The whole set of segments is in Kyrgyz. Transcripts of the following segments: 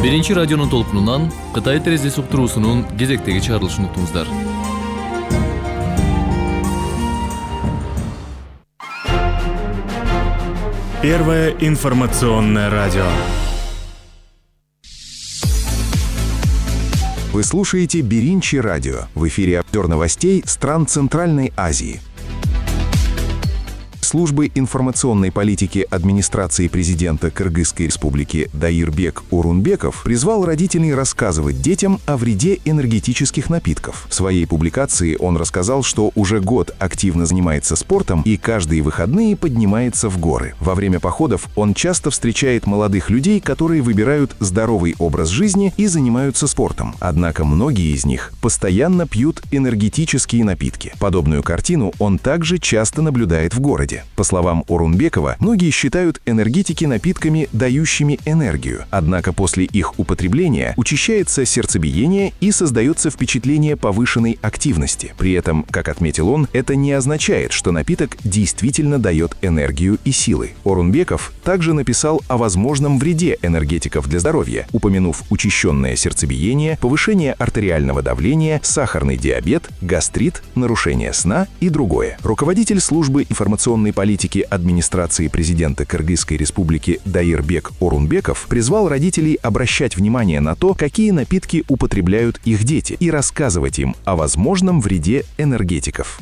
Биринчи радионун толкунунан Кытай терезеси уктуруусунун кезектеги чыгарылышын уктуңуздар. Первое информационное радио. Вы слушаете Биринчи радио. В эфире обзор новостей стран Центральной Азии. Службы информационной политики администрации президента Кыргызской республики Даирбек Орунбеков призвал родителей рассказывать детям о вреде энергетических напитков. В своей публикации он рассказал, что уже год активно занимается спортом и каждые выходные поднимается в горы. Во время походов он часто встречает молодых людей, которые выбирают здоровый образ жизни и занимаются спортом. Однако многие из них постоянно пьют энергетические напитки. Подобную картину он также часто наблюдает в городе. По словам Орунбекова, многие считают энергетики напитками, дающими энергию. Однако после их употребления учащается сердцебиение и создается впечатление повышенной активности. При этом, как отметил он, это не означает, что напиток действительно дает энергию и силы. Орунбеков также написал о возможном вреде энергетиков для здоровья, упомянув учащенное сердцебиение, повышение артериального давления, сахарный диабет, гастрит, нарушение сна и другое. Руководитель службы информационной политики администрации президента Кыргызской республики Даирбек Орунбеков призвал родителей обращать внимание на то, какие напитки употребляют их дети, и рассказывать им о возможном вреде энергетиков.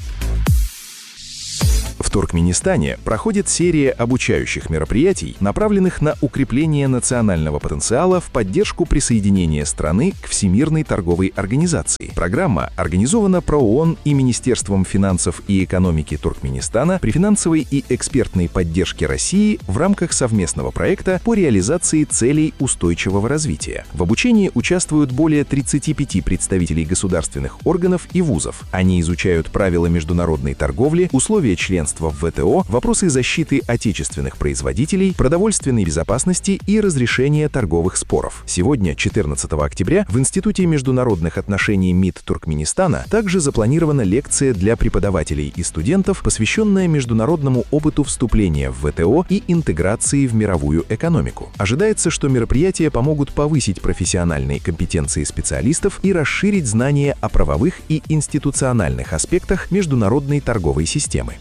В Туркменистане проходит серия обучающих мероприятий, направленных на укрепление национального потенциала в поддержку присоединения страны к Всемирной торговой организации. Программа организована ПРООН и Министерством финансов и экономики Туркменистана при финансовой и экспертной поддержке России в рамках совместного проекта по реализации целей устойчивого развития. В обучении участвуют более 35 представителей государственных органов и вузов. Они изучают правила международной торговли, условия членства в ВТО, вопросы защиты отечественных производителей, продовольственной безопасности и разрешения торговых споров. Сегодня, 14 октября, в Институте международных отношений МИД Туркменистана также запланирована лекция для преподавателей и студентов, посвященная международному опыту вступления в ВТО и интеграции в мировую экономику. Ожидается, что мероприятия помогут повысить профессиональные компетенции специалистов и расширить знания о правовых и институциональных аспектах международной торговой системы.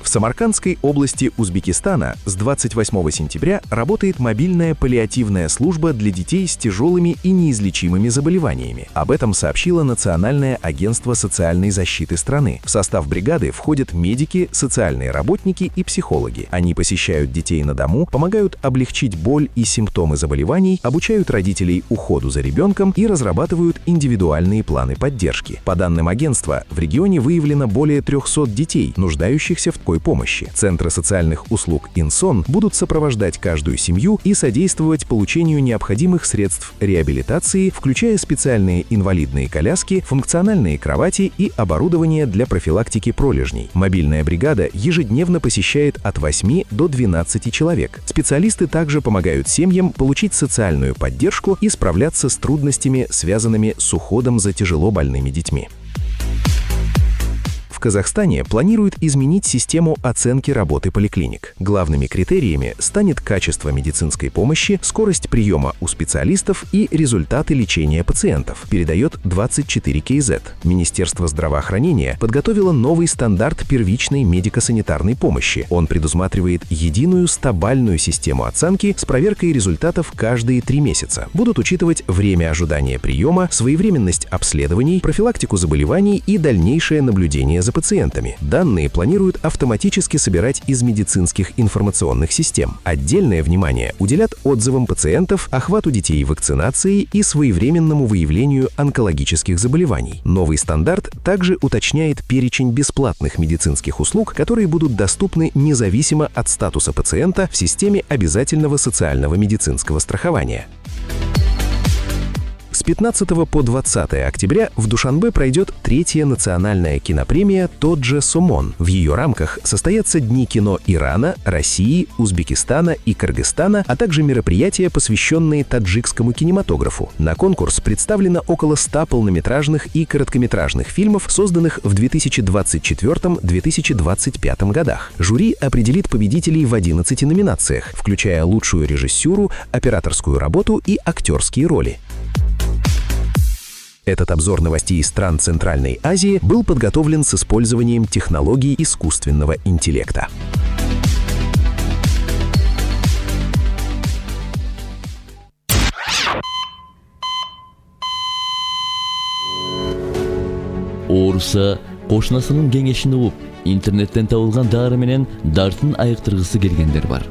В Самаркандской области Узбекистана с 28 сентября работает мобильная паллиативная служба для детей с тяжелыми и неизлечимыми заболеваниями. Об этом сообщило Национальное агентство социальной защиты страны. В состав бригады входят медики, социальные работники и психологи. Они посещают детей на дому, помогают облегчить боль и симптомы заболеваний, обучают родителей уходу за ребенком и разрабатывают индивидуальные планы поддержки. По данным агентства, в регионе выявлено более 300 детей, нуждающихся в такой помощи. Центры социальных услуг «Инсон» будут сопровождать каждую семью и содействовать получению необходимых средств реабилитации, включая специальные инвалидные коляски, функциональные кровати и оборудование для профилактики пролежней. Мобильная бригада ежедневно посещает от 8 до 12 человек. Специалисты также помогают семьям получить социальную поддержку и справляться с трудностями, связанными с уходом за тяжело больными детьми. В Казахстане планируют изменить систему оценки работы поликлиник. Главными критериями станет качество медицинской помощи, скорость приема у специалистов и результаты лечения пациентов, передает 24 КЗ. Министерство здравоохранения подготовило новый стандарт первичной медико-санитарной помощи. Он предусматривает единую 100-бальную систему оценки с проверкой результатов каждые 3 месяца. Будут учитывать время ожидания приема, своевременность обследований, профилактику заболеваний и дальнейшее наблюдение за пациентами. Данные планируют автоматически собирать из медицинских информационных систем. Отдельное внимание уделят отзывам пациентов, охвату детей вакцинацией и своевременному выявлению онкологических заболеваний. Новый стандарт также уточняет перечень бесплатных медицинских услуг, которые будут доступны независимо от статуса пациента в системе обязательного социального медицинского страхования. С 15 по 20 октября в Душанбе пройдет 3-я национальная кинопремия «Тот же Сомон». В ее рамках состоятся Дни кино Ирана, России, Узбекистана и Кыргызстана, а также мероприятия, посвященные таджикскому кинематографу. На конкурс представлено около 100 полнометражных и короткометражных фильмов, созданных в 2024-2025 годах. Жюри определит победителей в 11 номинациях, включая лучшую режиссуру, операторскую работу и актерские роли. Этот обзор новостей стран Центральной Азии был подготовлен с использованием технологий искусственного интеллекта. Ооруса кошунасынын кеңешин угуп, интернеттен табылган дары менен дартын айыктыргысы келгендер бар.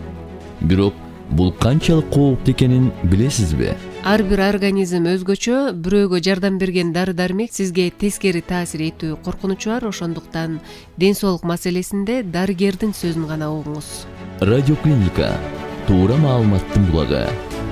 Бирок бул канчалык кооптуу экенин билесизби? Ар бир организм өзгөчө, бирөөгө жардам берген дары-дармек сизге тескери таасир этүү коркунучу бар, ошондуктан ден соолук маселесинде дарыгердин сөзүн гана угуңуз. Радиоклиника туура маалыматтын булагы.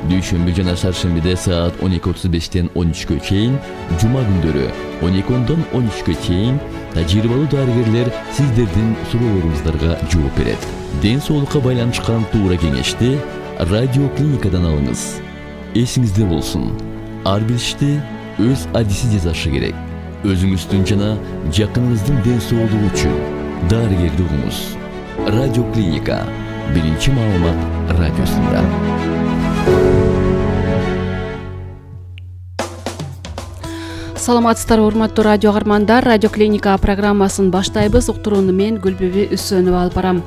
Дүйшөмбү жана шаршембиде саат 12:35 13-кө чейин, жума күндөрү 12-дон 13-кө чейин тажрыйбалуу дарыгерлер сиздердин суроолоруңуздарга жооп берет. Ден соолукка байланышкан туура кеңешти радиоклиникадан алыңыз. Эсиңизде болсун, ар бир ишти өз адиси жасашы керек. Өзүңүздүн жана жакыныңыздын ден соолугу үчүн дарыгерди угуңуз. Радиоклиника биринчи маалымат радиосунда. Саламатсыздарбы, урматтуу радио каармандар. Радиоклиника программасын баштайбыз. Уктурууну мен Гүлбүбү Үсөнова алып барам.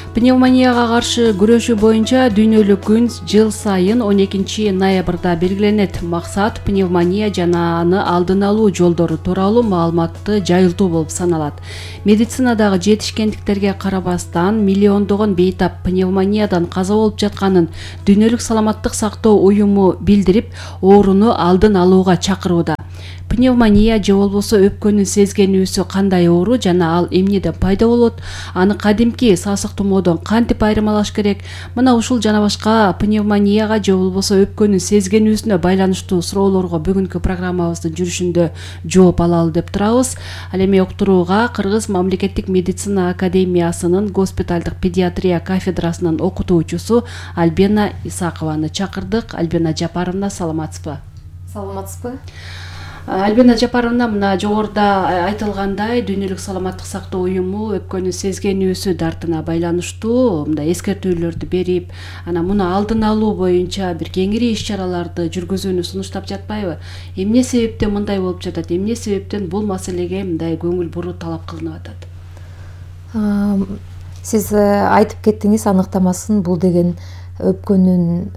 Пневмонияга каршы күрөшүү боюнча дүйнөлүк күн жыл сайын 12 ноябрда белгиленет. Максат пневмония жана аны алдын алуу жолдору тууралуу маалыматты жайылтуу болуп саналат. Медицинадагы жетишкендиктерге карабастан миллиондогон бейтап пневмониядан каза болуп жатканын Дүйнөлүк саламаттык сактоо уюму билдирип, ооруну алдын алууга чакырууда. Пневмония же болбосо өпкөнүн сезгенүүсү кандай оору жана ал эмнеден пайда болот? Аны кадимки сасык тумоодон кантип айырмалаш керек? Мына ушул жана башка пневмонияга же болбосо өпкөнүн сезгенүүсүнө байланыштуу суроолорго бүгүнкү программабыздын жүрүшүндө жооп алалы деп турабыз. Ал эми уктурууга Кыргыз мамлекеттик медицина академиясынын госпиталдык педиатрия кафедрасынын окутуучусу Альбина Исакованы чакырдык. Альбина Жапаровна, саламатсызбы? Саламатсызбы? Альбина Жапаровна, мына жогоруда айтылгандай, Дүйнөлүк саламаттык сактоо уюму өпкөнүн сезгенүүсү дартына байланыштуу мындай эскертүүлөрдү берип, анан муну алдын алуу боюнча бир кеңири иш-чараларды жүргүзүүнү сунуштап жатпайбы? Эмне себептен мындай болуп жатат? Эмне себептен бул маселеге мындай көңүл буруу талап кылынып атат? Сиз айтып кеттиңиз, аныктамасын бул деген өпкөнүн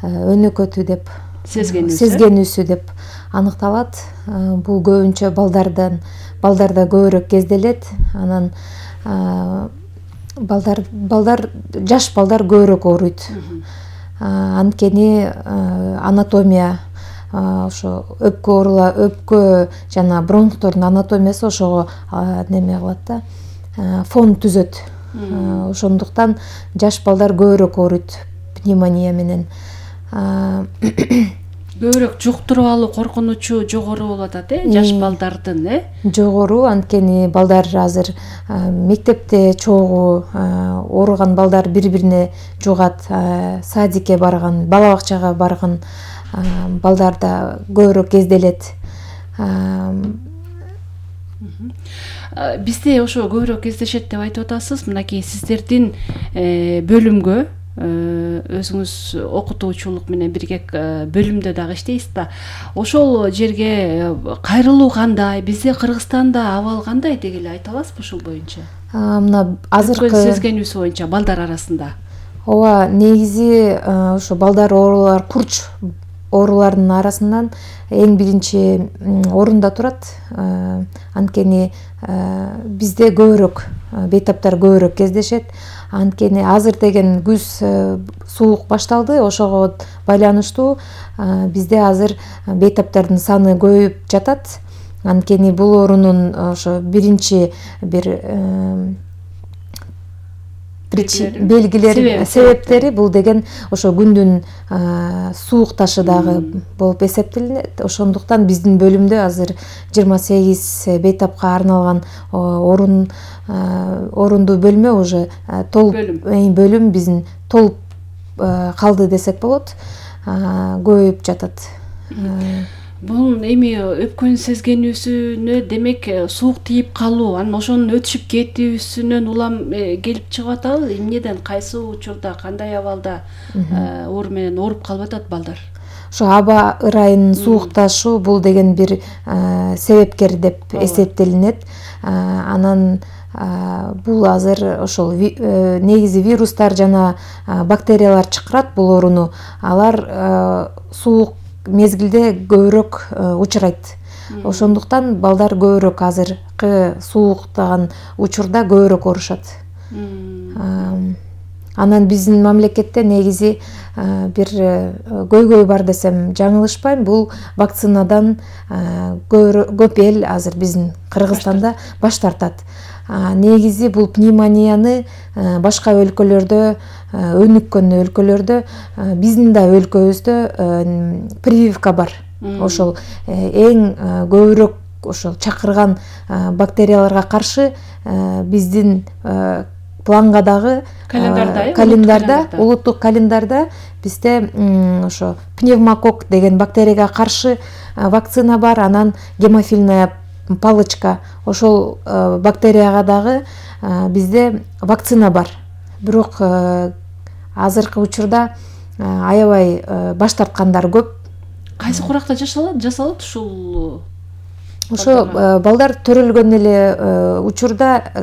өнөкөтү деп сезгенүүсү деп аныкталат. Бул көбүнчө балдарда көбүрөөк кезделет. Анан жаш балдар көбүрөөк ооруйт. Анткени анатомия ошо өпкө жана бронхтордун анатомиясы ошого неме кылат да, фон түзөт. Ошондуктан жаш балдар көбүрөөк ооруйт пневмония менен. Көбүрөөк жуктуруп алуу коркунучу жогору болуп атат, жаш балдардын, Жогору, анткени балдар азыр мектепте чогуу ооруган балдар бири-бирине жугат. Садикке барган, бала бакчага барган балдарда көбүрөөк кезделет. Бизде ошо көбүрөөк кездешет деп айтып атасыз. Мынакей сиздердин бөлүмгө өзүңүз окутуучулук менен бирге бөлүмдө дагы иштейсиз да. Ошол жерге кайрылуу кандай? Бизде Кыргызстанда абал кандай деп эле айта аласызбы ушул боюнча? Мына азыркы сезгенүүсү боюнча балдар арасында. Ооба, негизи ошо балдар оорулар, курч оорулардын арасынан эң биринчи орунда турат. Анткени бизде көбүрөөк бейтаптар көбүрөөк кездешет. Анткени азыр деген күз суук башталды, ошого байланыштуу бизде азыр бейтаптардын саны көбөйүп жатат. Анткени бул оорунун ошо биринчи бир белгилери себептери бул деген ошо күндүн суук ташы дагы болуп эсептелинет. Ошондуктан биздин бөлүмдө азыр 28 бейтапка арналган орундуу бөлмө уже толуп бөлүм биздин толуп калды десек болот, көбөйүп жатат. Бул эми өпкөн сезгенүүсүнө демек суук тийип калуу, анан ошонун өтүшүп кетүүсүнөн улам келип чыгып атабы? Эмнеден, кайсы учурда, кандай абалда оору менен ооруп калып атат балдар? Ошо аба ырайынын суукташуу бул деген бир себепкер деп эсептелинет. Анан бул азыр ошол негизи вирустар жана бактериялар чакырат бул ооруну. Алар суук мезгилде көбүрөөк учурайт. Ошондуктан балдар көбүрөөк азыркы сууктаган учурда көбүрөөк оорушат. Анан биздин мамлекетте негизи бир көйгөй бар десем жаңылышпайм. Бул вакцинадан көп эл азыр биздин Кыргызстанда баш тартат. Негизи бул пневмонияны башка өлкөлөрдө, өнүккөн өлкөлөрдө, биздин да өлкөбүздө прививка бар. Ошол эң көбүрөөк ошол чакырган бактерияларга каршы биздин плангадагы календарда, улуттук календарда бизде ошо пневмокок деген бактерияга каршы вакцина бар. Анан гемофильная палочка, ошол бактерияга дагы бизде вакцина бар. Бирок азыркы учурда аябай баш тарткандар көп. Кайсы куракта жасалат ушул? Ошо балдар төрөлгөн эле учурда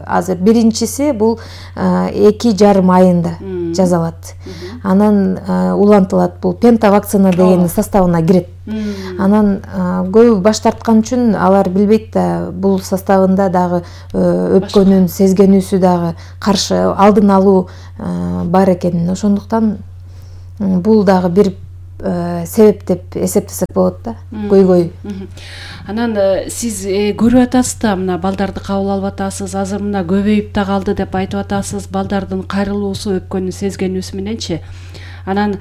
азыр биринчиси бул 2,5 айында жасалат. Анан улантылат, бул пента вакцина деген составына кирет. Анан көбү баш тарткан үчүн алар билбейт да бул составында дагы өпкөнүн сезгенүүсү дагы каршы алдын алуу бар экенин. Ошондуктан бул дагы бир себеп деп эсептесек болот да, көйгөй. Анан сиз көрүп атасыз да, мына балдарды кабыл алып атасыз, азыр мына көбөйүп да калды деп айтып атасыз, балдардын кайрылуусу, өпкөнүн сезгенүүсү мененчи. Анан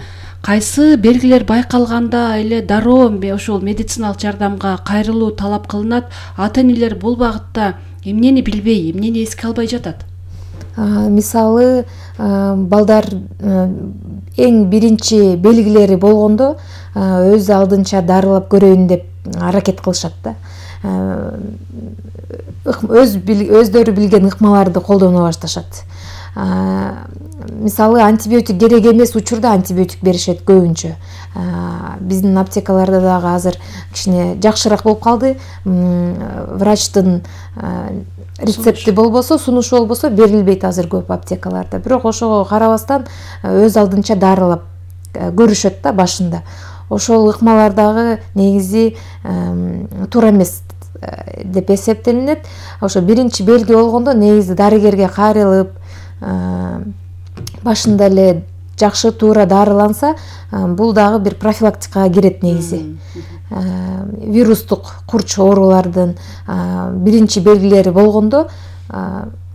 кайсы белгилер байкалганда эле дароо ошол медициналык жардамга кайрылуу талап кылынат? Ата-энелер бул багытта эмнени билбей, эмнени эске албай жатат? Мисалы, балдар эң биринчи белгилери болгондо өз алдынча дарылап көрөйүн деп аракет кылышат да. Өздөрү билген ыкмаларды колдоно башташат. Мисалы, антибиотик керек эмес учурда антибиотик беришет көбүнчө. Биздин аптекаларда дагы азыр кичине жакшыраак болуп калды. Врачтын рецепти болбосо, сунушу болбосо берилбейт азыр көп аптекаларда. Бирок ошого карабастан өз алдынча дарылап көрүшөт да башында. Ошол ыкмалар дагы негизи туура эмес деп эсептелинет. Ошо биринчи белги болгондо негизи дарыгерге кайрылып, башында эле жакшы туура дарыланса, бул дагы бир профилактикага кирет негизи. Вирустук курч оорулардын биринчи белгилери болгондо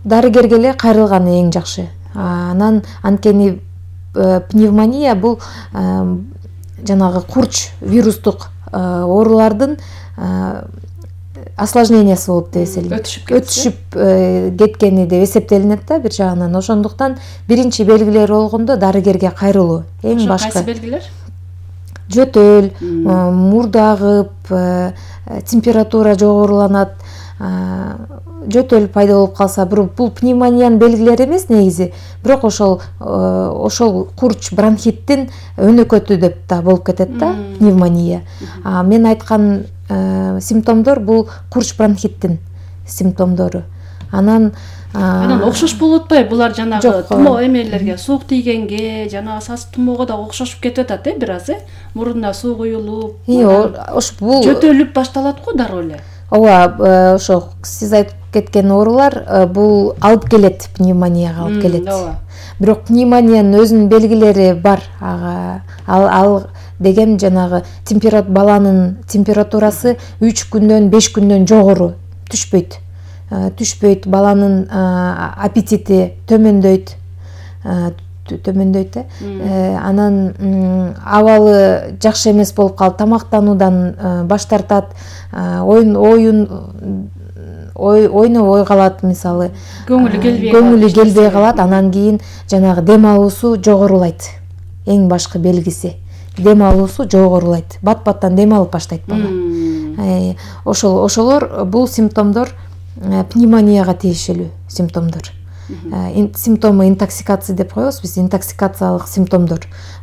дарыгерге эле кайрылган эң жакшы. Анан анткени пневмония бул жанагы курч вирустук оорулардын осложнениясы болуп деп эсептелинет. Өтүшүп кеткени деп эсептелинет да бир жагынан. Ошондуктан биринчи белгилери болгондо дарыгерге кайрылуу эң башкы. Кайсы белгилер? Жөтөл, мурду агып, температура жогоруланат, жөтөл пайда болуп калса, бул пневмониянын белгилери эмес негизи, бирок ошол курч бронхиттин өнөкөтү деп да болуп кетет да пневмония. Мен айткан симптомдор бул курч бронхиттин симптомдору. Анан окшош болуп атпайбы? Булар жанагы тумоо эмелерге, суук тийгенге, жанагы сас тумоого да окшошуп кетип атат, бир аз, мурунда суу куюлуп, бул жөтөлүп башталат го дароо эле. Ооба, ошо сиз айтып кеткен оорулар бул алып келет, пневмонияга алып келет. Бирок пневмониянын өзүнүн белгилери бар. Ал деген жанагы баланын температурасы 3 күндөн 5 күндөн жогору түшпөйт. Баланын аппетити төмөндөйт, төмөндөйт анан абалы жакшы эмес болуп калып тамактануудан баш тартат, ойнобой калат, мисалы көңүлү келбей калат, анан кийин жанагы дем алуусу жогорулайт. Эң башкы белгиси дем алуусу жогорулайт, бат-баттан дем алып баштайт бала. Ошолор бул симптомдор пневмонияга тиешелүү симптомдор. Симптомы интоксикация деп коебуз биз, интоксикациялык симптомдор.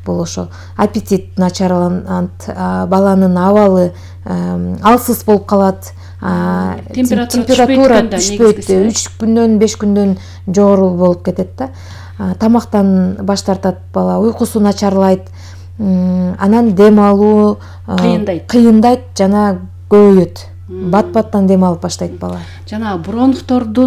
Бул ошо аппетит начарланат, баланын абалы алсыз болуп калат, температура түшпөйт, 3 күндөн 5 күндөн жогору болуп кетет да. Тамактан баш тартат бала, уйкусу начарлайт, анан дем алуу кыйындайт жана көбөйөт. Бат-баттан дем алып баштайт бала. Жана бронхтордо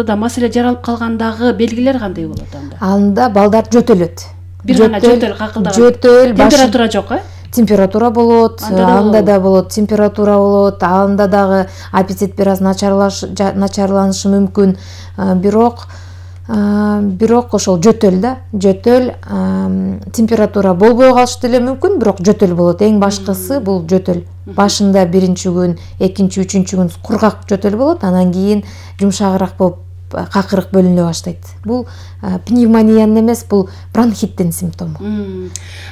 да маселе жаралып калгандагы белгилер кандай болот анда? Анда балдар жөтөлөт. Бир гана жөтөл какылдаган. Температура жок, Температура болот, анда да болот, температура болот, анда дагы аппетит бир аз начарланышы мүмкүн, бирок ошол жөтөл да, температура болбой калышы деле мүмкүн, бирок жөтөл болот. Эң башкысы бул жөтөл. Башында биринчи күн, экинчи, үчүнчү күн кургак жөтөл болот, анан кийин жумшагыраак болуп какырык бөлүнө баштайт. Бул пневмониянын эмес, бул бронхиттин симптому.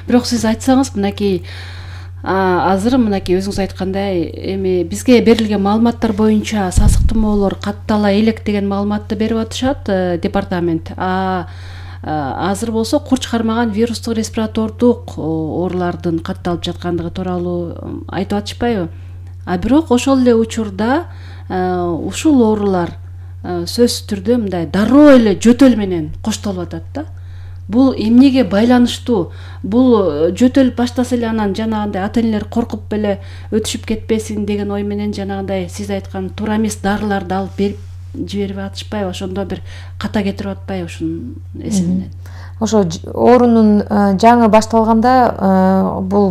Бирок сиз айтсаңыз, мынакей азыр мынакей өзүңүз айткандай, эми бизге берилген маалыматтар боюнча сасык тумоолор каттала элек деген маалыматты берип атышат департамент. Азыр болсо курч кармаган вирустук респиратордук оорулардын катталып жаткандыгы тууралуу айтып атышпайбы? Бирок ошол эле учурда ушул оорулар сөзсүз түрдө мындай дароо эле жөтөл менен коштолуп атат да. Бул эмнеге байланыштуу? Бул жөтөл баштаса эле анан жанагындай ата-энелер коркуп эле өтүшүп кетпесин деген ой менен жанагындай сиз айткан туура эмес дарыларды алып берип жиберип атышпайбы? Ошондо бир ката кетирип атпайбы ушунун эсебинен? Ошо оорунун жаңы башталганда бул